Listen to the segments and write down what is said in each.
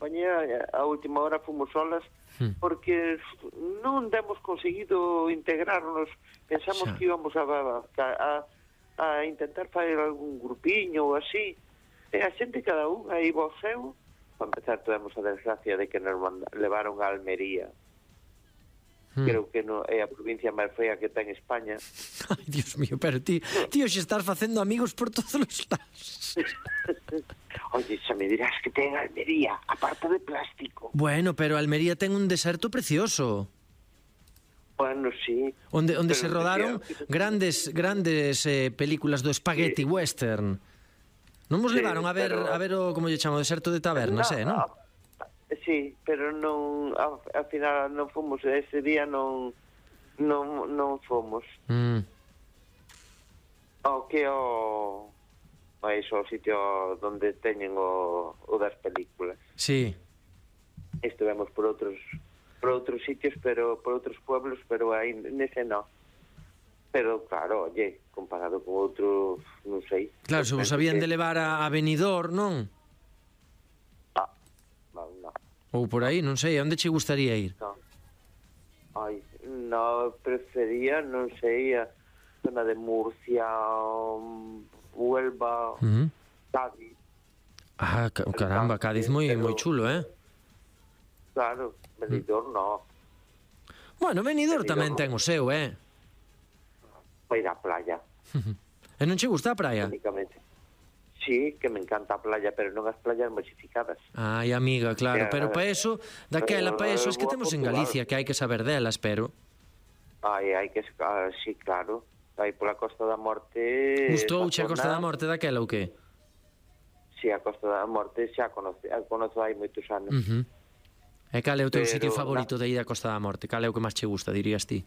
compañía, a última hora fomos solas, porque non demos conseguido integrarnos. Pensamos que íbamos a intentar fazer algún grupiño ou así, e a xente cada un aí vo seu. Para empezar, tuvemos a desgracia de que nos levaron a Almería. Creo que é a provincia máis fea que ten España. Ai, Dios mío, pero tío, xe estás facendo amigos por todos os lados. Oye, xa me dirás que ten Almería, aparte de plástico. Bueno, pero Almería ten un deserto precioso. Bueno, sí. Onde se rodaron grandes películas do spaghetti western. Non vos levaron a ver o, como lle chamo, o deserto de tabernas, non? Sí, pero non, ao final non fomos, ese día non fomos. O sitio donde teñen o das películas. Sí. Estivemos por outros sitios, pero por outros pueblos, pero aí nese non. Pero claro, oye, comparado con outros, non sei. Claro, se vos habían de levar a Benidorm, non? No. Ou por aí, non sei, onde che gustaría ir? No. Ai, no, prefería, non sei, a zona de Murcia, Huelva, Cádiz. Ah, caramba, Cádiz moi chulo, Claro, Benidorm no. Bueno, Benidorm tamén ten o seu, Para ir á playa. E non che gusta a praia? Únicamente. Sí, que me encanta a playa, pero non as playas masificadas. Ai, amiga, claro, pero para eso, daquela, para eso, es que temos en Galicia, que hai que saber delas, pero... Hai que... sí, claro. Aí pola Costa da Morte... Gustouche a Costa da Morte daquela ou que? Sí, a Costa da Morte xa conozo hai moitos anos. E cal é o teu sitio favorito de ir a Costa da Morte? Cal é o que máis che gusta, dirías ti?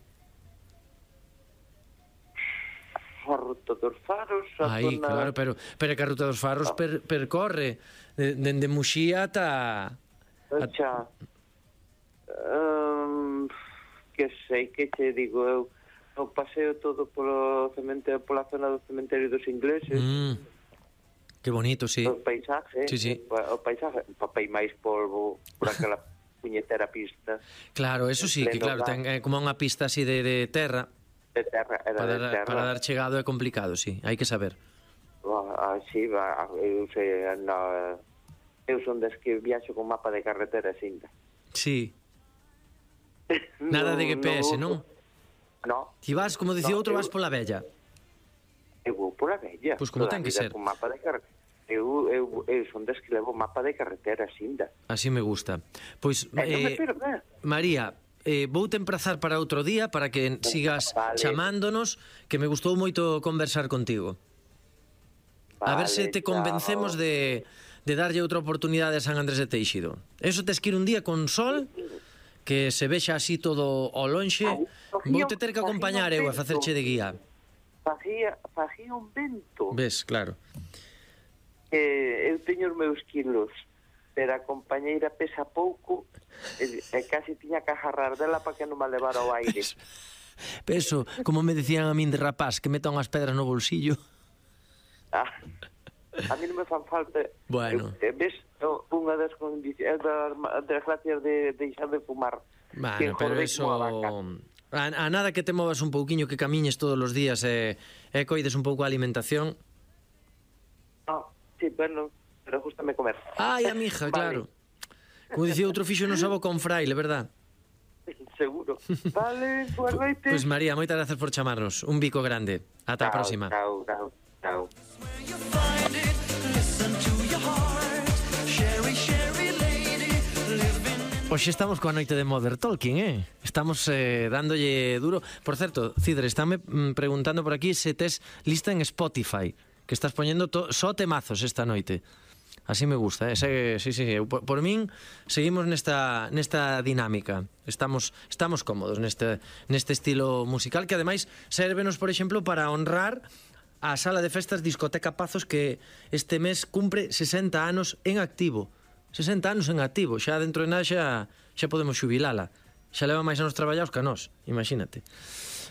A Ruta dos Faros, a zona... claro, pero é que a Ruta dos Faros percorre dende Muxía ata... que sei, que che digo eu, o paseo todo pola zona do cementerio dos ingleses. Que bonito, sí. O paisaje, sí. O paisaje, papel máis polvo por aquela puñetera pista. Claro, eso sí, que claro, ten como unha pista así de terra. De terra, de terra. Para dar chegado é complicado, sí, hai que saber. Sí, eu son des que viaxo con mapa de carretera cinta. Sí. Nada de GPS, non? No. Ti vas, como dicía outro, vas pola vella. Eu vou pola vella. Pois como ten que ser. Con mapa de carretera. Eu son des que levo mapa de carretera cinta. Así me gusta. Pois, María, voute emprazar para outro día para que sigas chamándonos, que me gustou moito conversar contigo. A ver se te convencemos de darlle outra oportunidade a San Andrés de Teixido. Eso tes que ir un día con sol, que se vexa así todo ao lonxe. Voute ter que acompañar eu a facerche de guía. Facía un vento. Ves, claro. Eu teño os meus quilos, pero a compañeira pesa pouco e casi tiña que agarrar dela para que non me levara ao aire. Peso, como me decían a min de rapaz, que meta unhas pedras no bolsillo. A mí non me fan falta. Bueno. Ves, unha das gracias de deixar de fumar. Bueno, pero eso... A nada que te movas un pouquiño, que camiñes todos os días e coides un pouco a alimentación. Sí, bueno, pero gústame comer. Ai, amija, claro. Como dicía outro fixo no sabo con fraile, verdad? Seguro. Vale, boa noite. Pois María, moitas gracias por chamarnos. Un bico grande. Ata a próxima. Chao. Hoxe estamos coa noite de Modern Talking, Estamos dándolle duro. Por certo, Cidre, estáme preguntando por aquí se tes lista en Spotify, que estás poñendo só temazos esta noite. Así me gusta, sí. Por min seguimos nesta dinámica. Estamos cómodos neste estilo musical, que ademais sérvenos, por exemplo, para honrar a sala de festas Discoteca Pazos, que este mes cumpre 60 anos en activo. 60 anos en activo, xa dentro de nada xa podemos xubilala. Xa leva máis anos traballados que a nós, imagínate.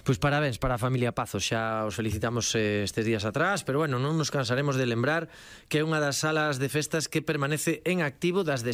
Pois parabéns para a familia Pazos, xa os felicitamos estes días atrás, pero bueno, non nos cansaremos de lembrar que é unha das salas de festas que permanece en activo das de